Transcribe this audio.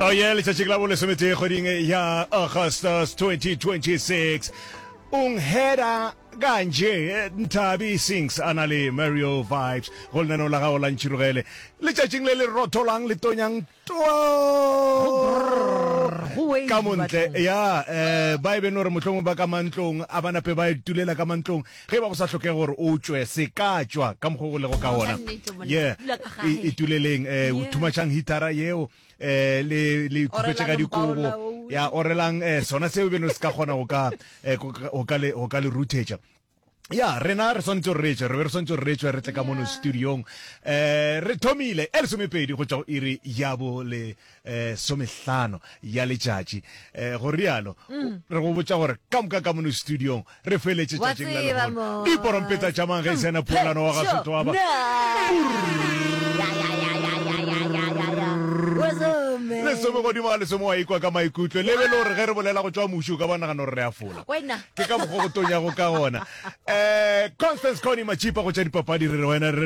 Oh yeah, letšatši ke la bolesometee kgweding ya Augustus 2026. Ungheda kanje Nthabi Sings a na le Mario Vibes go lenaneo la gago la Ntšhirogele letšatšing le le rotholang le tonyang ka montle ya um ba e beno gore mohlomongwe ba ka mantlong a ba nape ba itulela ka mantlong ge ba go sa hlokege gore o tšwe se ka tšwa ka mokgwa go lego ka ona ye ituleleng um thumatšhang hitara yeo um le le ikhupetše ka dikobo ya orelang um sona seo beno se ka kgona go ka go ka le ruthetša ya rena re swanetše gore re tšwe re be re swanetše gore re tšwe re tle ka mono studiong um re thomile e lesomepedi go tšwa go iri ya bo le um somehlano ya letšatši um go rialo mm. re go botša gore ka moka ka mono studiong re feletše tšatšing la lehono diporompeta tša mang ge e sena polano wa ga sotho wa ba lesome godimo ga lesome wa ikwa ka maikutlo le be le gore ge re bolela go tšwa muši o ka ba nagana gore re a fola ke ka mokgwa go tonyago ka gona um constance cony machipa go tša dipapadi re re wena re.